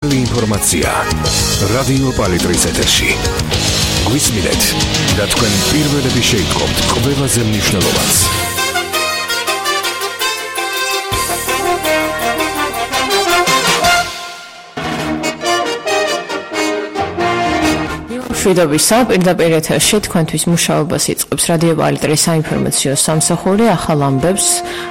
ინფორმაცია რადიო პალიტრის ეთერში. გვისმინეთ და თქვენ პირველები შეიტყობთ ყველაზე მნიშვნელოვანს. შვიდობისა, პირდაპირ ეთერში თქვენთვის მუშაობას იწყებს რადიო პალიტრის საინფორმაციო სამსახური. ახალ ამბებს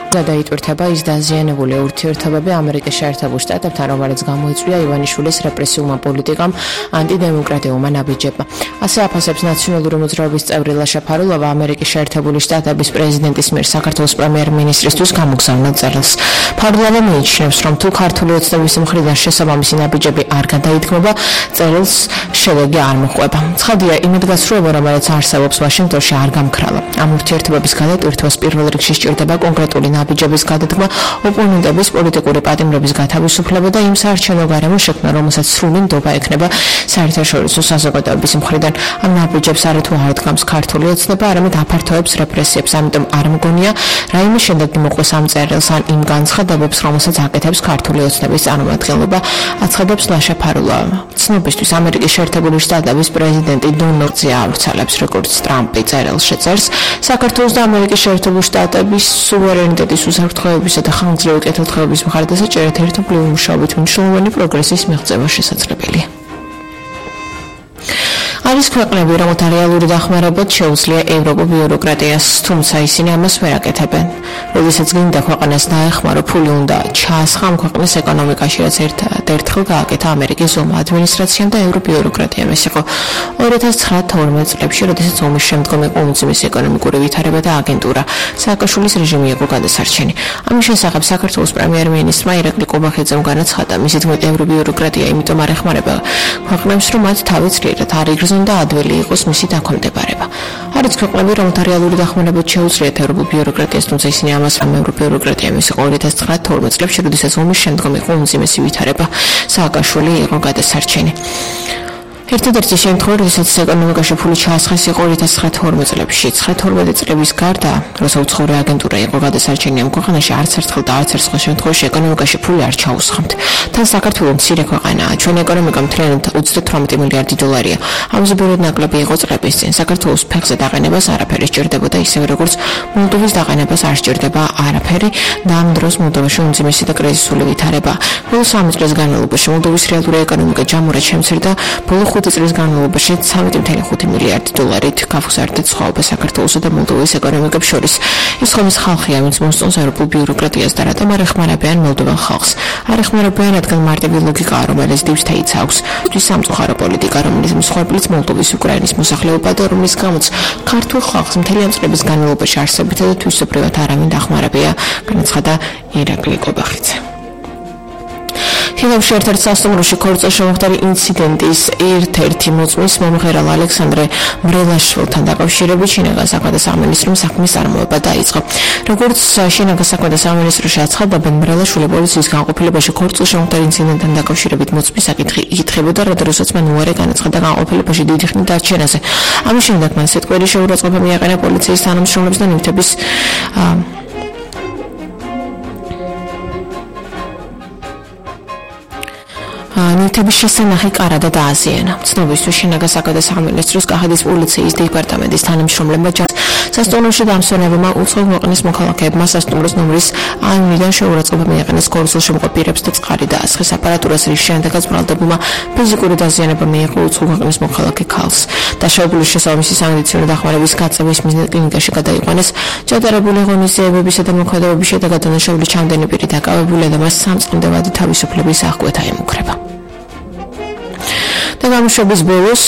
გადაიტვირთება ის დაზიანებული ურთიერთობები ამერიკის შეერთებულ შტატებთან, რომელიც გამოიწვია ივანიშვილის რეპრესიულმა პოლიტიკამ, ანტიდემოკრატიულმა ნაბიჯებმა. ასე აფასებს ნაციონალური მოძრაობის წევრი ლაშა ფარულოვა ამერიკის შეერთებული შტატების პრეზიდენტის მიერ საქართველოს პრემიერ-მინისტრისთვის გამოგზავნილ წერილს. ფარულოვა მიიჩნევს, რომ თუ ქართული ოცნების მხრიდან შესაბამისი ნაბიჯები არ გადაითქმება, წერილს შედეგი არ მოჰყვება. ცხადია, იმედგაცრუება, რომელიც არსებობს ვაშინგტონში, არ გამქრალა. ამ ურთიერთობების გადატვირთვას პირველ რიგში სჭირდება კონკრეტული ნაბიჯების გადადგმა, ოპონენტების პოლიტიკური პატიმრების გათავისუფლება და იმ საარჩევნო გარემოს შექმნა, რომელსაც სრული ნდობა ექნება საერთაშორისო საზოგადოების მხრიდან. ამ ნაბიჯებს არათუ არ დგამს ქართული ოცნება, არამედ აფართოებს რეპრესიებს, ამიტომ არ მგონია, რაიმე შედეგი მოყვეს ამ წერილს ან იმ განცხადებებს, რომელსაც აკეთებს ქართული ოცნების წარმომადგენლობა, აცხადებს ლაშა ფარულოვა. ცნობისთვის ამერიკის შეერთებული შტატების პრეზიდენტი დონალდზე ავრცელებს, როგორც ტრამპი წერილს შეწერს, საქართველოს და ამერიკის შეერთებული შტატების სუვერენიტეტის უსაფრთხოებისა და ხანგრძლივი კეთილდღეობის მხარდასაჭერად ერთობლივი მუშაობით მნიშვნელოვანი პროგრესის მიღწევა შესაძლებელია. არის ქვეყნები, რომელთა რეალური დახმარებაც შეუძლია ევროპულ ბიუროკრატიას, თუმცა ისინი ამას ვერ აკეთებენ. როდესაც გინდა ქვეყანას დაეხმარო, ფული უნდა ჩაასხა ამ ქვეყნის ეკონომიკაში, რაც ერთხელ გააკეთა ამერიკის ომმა ადმინისტრაციამ და ევრობიუროკრატიამ. ეს იყო 2009-12 წლებში, როდესაც ომის შემდგომ იყო უმძიმესი ეკონომიკური ვითარება და აგენტურა. სააკაშვილის რეჟიმი იყო გადასარჩენი. ამის შესახებ საქართველოს პრემიერ-მინისტრმა ირაკლი ყობახიძემ განაცხადა, მისი თქმით, ევრობიუროკრატია იმიტომ არ ეხმარება ქვეყნებს, რომ მათ თავი ძლიერად არ იგრძნონ და ადვილი იყოს მისი დაქვემდებარება. არის ქვეყნები, რომელთა რეალური დახმარებაც შეუძლიათ ევროპულ ბიუროკრატიას, თუმცა ისინი ამას ევრობიუროკრატიამ ის იყო 2009-12 წლებში, როდესაც ომის შემდგომ იყო უმძიმესი ვითარება. სააკაშვილი იყო გადასარჩენი. ერთადერთი შემთხვევა, როდესაც ეკონომიკაში ფული ჩაასხეს, იყო 2009-12 წლებში. 9-12 წლების გარდა, როცა უცხოური აგენტურა იყო გადასარჩენი ამ ქვეყანაში, არც ერთხელ და არც ერთ სხვა შემთხვევაში ეკონომიკაში ფული არ ჩაუსხამთ. თან საქართველოს მცირე ქვეყანაა, ჩვენი ეკონომიკა მთლიანად 38 მილიარდი დოლარია. ამაზე ბევრად ნაკლები იყო წლების წინ. საქართველოს ფეხზე დაყენებას არაფერი სჭირდებოდა, ისევე როგორც მოლდოვის დაყენებას არ სჭირდება არაფერი და ამ დროს მოლდოვაში უმძიმესი და კრიზისული ვითარება. ბოლო 3 წლის განმავლობაში მოლდოვის რეალური ეკონომიკა ჯამურად შემცირდა, ბოლო 5 წლის განმავლობაში 13.5 მილიარდი დოლარით გაფუძარდა სხვაობა საქართველოსა და მოლდოვის ეკონომიკებს შორის. ის ხომის ხალხია, ვინც მოსწონს ევროპულ ბიუროკრატიას და რატომ არ ეხმარებიან მოლდოვან ხალხს. არ ეხმარებიან, რადგან მარტივი ლოგიკაა, რომელიც დივს თეიც აქვს. ის სამწუხარო პოლიტიკა, რომელიც მსხვერპლიც მოლდოვის უკრაინის მოსახლეობა და რომლის გამოც ქართულ ხალხს მთელი ამ წლების განმავლობაში არსებითა და თვისობრივად არავინ დახმარებია, განაცხადა ირაკლი ყობახიძე. ფილმში ერთ-ერთ სასტუმროში ქორწილშემოხდარი ინციდენტის ერთ-ერთი მოწმის მომღერალ ალექსანდრე მრელაშვილთან დაკავშირებით შინაგან საქმეთა სამინისტრომ საქმის წარმოება დაიწყო. როგორც შინაგან საქმეთა სამინისტროში აცხადებენ, მრელაშვილი პოლიციის განყოფილებაში ქორწილშემოხდარ ინციდენტთან დაკავშირებით მოწმის საკითხი იკითხებოდა, როდესაც მან უარი განაცხადა განყოფილებაში დიდი ხნით დარჩენაზე. ამის შემდეგ მან სიტყვიერი შეურაცხყოფა მიაყენა პოლიციის თანამშრომლებს და ნივთების ნივთების შესანახი კარადა დააზიანა. ცნობისთვის შინაგან საქმეთა სამინისტროს კახეთის პოლიციის დეპარტამენტის თანამშრომლებმა სასტუმროში დამსვენებელმა უცხო ქვეყნის მოქალაქეებმა სასტუმროს ნომრის აინიდან შეურაცხყოფა მიაყენეს ქორწილშემოხდარ პირებს და წყარი დაასხეს აპარატურას, რის შემდეგაც ბრალდებულმა ფიზიკური დაზიანება მიიღო უცხო ქვეყნის მოქალაქე ქალს. დაშავებულის შესაბამისი სამედიცინო დახმარების გაწევის მიზნით კლინიკაში გადაიყვანეს. ჩატარებული ღონისძიებებისა და მოქმედებების შედეგად დანაშაული ჩამდენი პირი დაკავებულია და მას სამწყამდევადი თავისუფლების აღკვეთა ემუქრება. და გამოშვების ბოლოს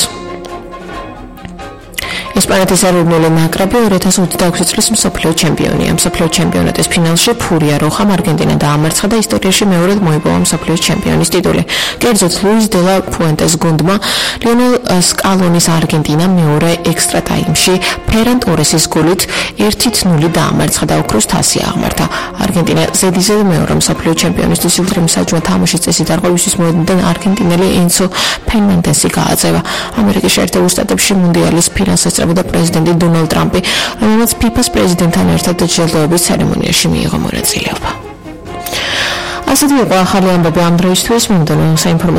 ესპანეთის ეროვნული ნაკრები 2026 წლის მსოფლიო ჩემპიონია. მსოფლიო ჩემპიონატის ფინალში ფურია როხამ არგენტინა დაამარცხა და ისტორიაში მეორედ მოიპოვა მსოფლიო ჩემპიონის ტიტული. კერძოდ ლუის დე ლა ფუენტეს გუნდმა ლიონელ სკალონის არგენტინა მეორე ექსტრა ტაიმში ფერან ტორესის გოლით 1-0 დაამარცხა და ოქროს თასი აღმართა. არგენტინა ზედიზედ მეორე მსოფლიო ჩემპიონისთვის ულტრამსაჯვა თამაშის წესით არღვევისთვის მოედნიდან არგენტინელი ენცო ფერნანდესი გააძევა. ამერიკის შეერთებულ შტატებში მუნდიალის ფინალს ესწრებოდა პრეზიდენტი დონალდ ტრამპი, რომელმაც ფიფას პრეზიდენტთან ერთად ჯილდოების ცერემონიაში მიიღო მონაწილეობა. ასეთი იყო ახალი ამბები ამ დროისთვის. მინდოდა საინფორმაციო